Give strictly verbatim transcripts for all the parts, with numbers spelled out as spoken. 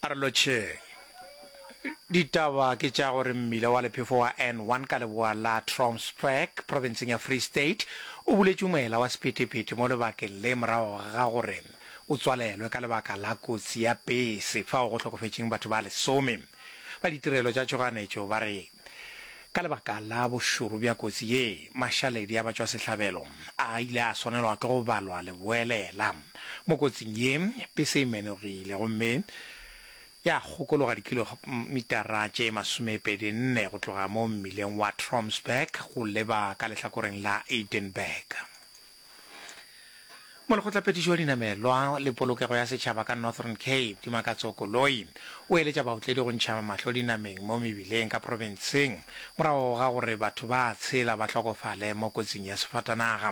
A re lotšheng. Ditaba ke tša gore mmila wa lephefo wa N one ka leboa la Trompsburg profenseng ya Free State o buletšwe moela wa sephethephethe mo lebakeng le morago ga gore o tswalelwe ka lebaka la kotsi ya pese fao go hlokofetšeng batho ba lesome. Ba ditirelo tša tšhoganetšo ba re ka lebaka la bošoro bja kotsi ye, mašaledi a batšwasehlabelo a ile a swanelwa ke go balwa leboelela. Mo kotsing ye, pese e menogile gomme ya kgokologa dikilomitara tše masomepedi nne go tloga mo mmileng wa Trompsburg go leba ka lehlakoreng la Edinburgh. Molekgotlaphethiši wa dinamelwa le polokego ya setšhaba ka Northern Cape, Dimakatso Koloi, o eletša baotledi go ntšha mahlo dinameng mo mebileng ka profenseng morago ga gore batho ba tshela ba hlokofale mo kotsing ya sefatanaga.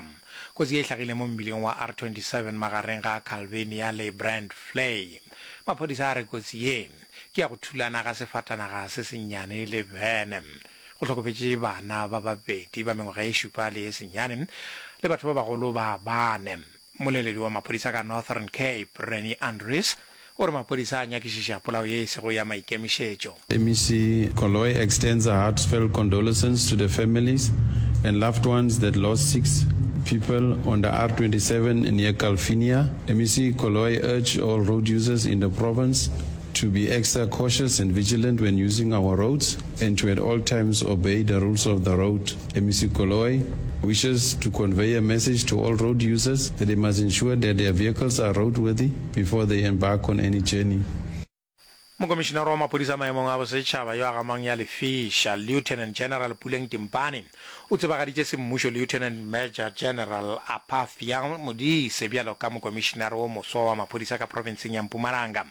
Kotsi ye e hlagile mo mmileng wa R twenty seven magareng ga Calvinia le Brandvlei. Maphodisa a re kotsi ye ke ya go thulana ga sefatanaga se sennyane le bene. Go hlokofetše bana ba babedi ba mengwaga ye šupa le ye senyane le batho ba bagolo ba bane. Mmoleledi wa maphodisa ka Northern Cape, Rennie Andries, o re maphodisa a nyakišiša polao ye e sego ya maikemišetšo. M E C Koloi extends her heartfelt condolences to the families and loved ones that lost six people on the R twenty-seven near Calvinia. M E C Koloi urged all road users in the province to be extra cautious and vigilant when using our roads and to at all times obey the rules of the road. M E C Koloi wishes to convey a message to all road users that they must ensure that their vehicles are roadworthy before they embark on any journey. Mokomišinare wa maphodisa maemong a bosetšhaba yo a gamang ya lefiša, Lieutenant General Puleng Timpane, o tsebagaditše semmušo Lieutenant Major General Apathia Modise bjalo ka mokomišinare wo moswa wa maphodisa ka profenseng ya Mpumalanga.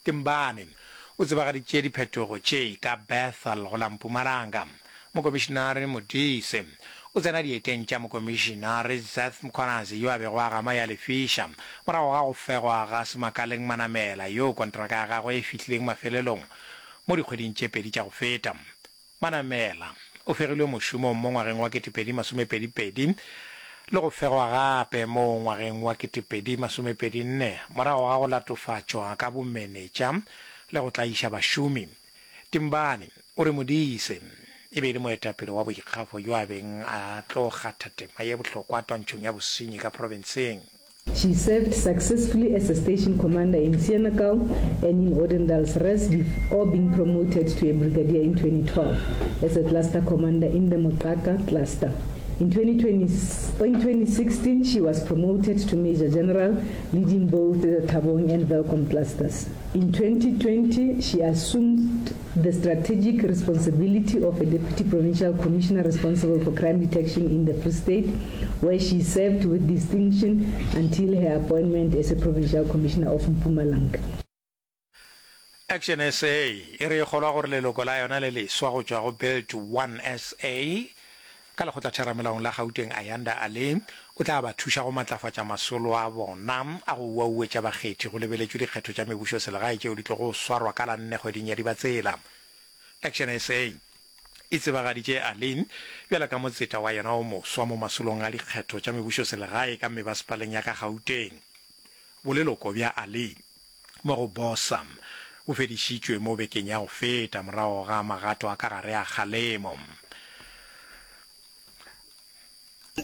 Timpane o tsebagaditše diphetogo tše ka Bethal go la Mpumalanga. Mokomišinare Modise o tsena dieteng tša mokomišinare Zeth Mkhwanazi yo a bego a gama ya lefiša morago ga go fegwa ga Semakaleng Manamela yo kontraka ya gagwe e fihlileng mafelelong mo dikgweding tše pedi tša go feta. Manamela o fegilwe mošomong mo ngwageng wa ketepedi masomepedi pedi le go fegwa gape mo ngwageng wa ketepedi masomepedi nne morago ga go latofatšwa ka bomenetša le go tlaiša bašomi. Timbane o re Modise e be e le moetapele wa boikgafo yo a beng a tlo kgatha tema ye bohlokwa twantšhong ya bosenyi ka profenseng. She served successfully as a station commander in Senekal and in Odendaalsrus before being promoted to a brigadier in twenty twelve as a cluster commander in the Moqhaka cluster. In twenty twenty, in twenty sixteen, she was promoted to Major General, leading both the Thabong and Welkom clusters. In twenty twenty, she assumed the strategic responsibility of a Deputy Provincial Commissioner responsible for crime detection in the Free State, where she served with distinction until her appointment as a Provincial Commissioner of Mpumalanga. Action S A e re e kgolwa gore leloko la yona le leswa go tšwa go Build One S A ka lekgotlatheramelaong la Gauteng Ayanda Ali o tla ba thuša go matlafatša masolo a bona a go uauetša bakgethi go lebeletšwe dikgetho tša mebušoselegae tšeo di tlogo swarwa ka la nne kgweding ya Dibatsela. Action S A e tsebagaditše Ali bjalo ka motseta wa yona o moswa mo masolong a dikgetho tša mebušoselegae ka mebasepaleng ya ka Gauteng. Boleloko bja Ali mo go BOSA bo fedišitšwe mo bekeng ya go feta morago ga magato a ka gare a kgalemo.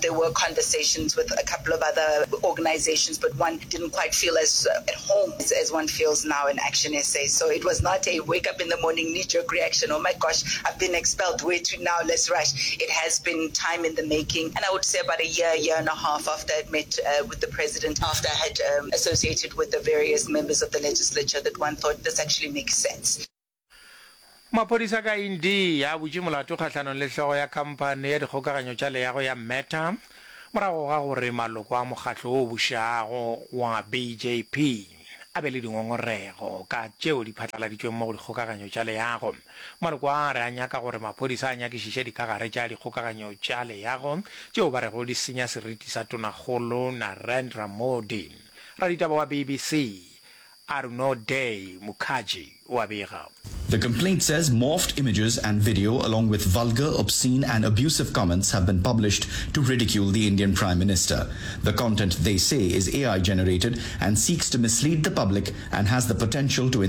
There were conversations with a couple of other organizations, but one didn't quite feel as at home as, as one feels now in Action S A. So it was not a wake up in the morning, knee-jerk reaction, "Oh my gosh, I've been expelled, where to now, let's rush." It has been time in the making. And I would say about a year, year and a half after I'd met uh, with the president, after I had um, associated with the various members of the legislature, that one thought this actually makes sense. Maphodisa ka India a butše molato kgahlanong le hlogo ya khamphani ya dikgokaganyo tša leago ya Meta morago ga gore maloko a mokgatlo wo bušago wa B J P a be le dingongorego ka tšeo di phatlaladitšweng mo go dikgokaganyo tša leago. Maloko a re a nyaka gore maphodisa a nyakišiše dikagare tša dikgokaganyo tša leago tšeo ba rego di senya seriti sa tonakgolo Narendra Modi. Raditaba wa B B C Arunoday Mukherjee o a bega. The complaint says morphed images and video, along with vulgar, obscene, and abusive comments, have been published to ridicule the Indian Prime Minister. The content, they say, is A I generated and seeks to mislead the public and has the potential to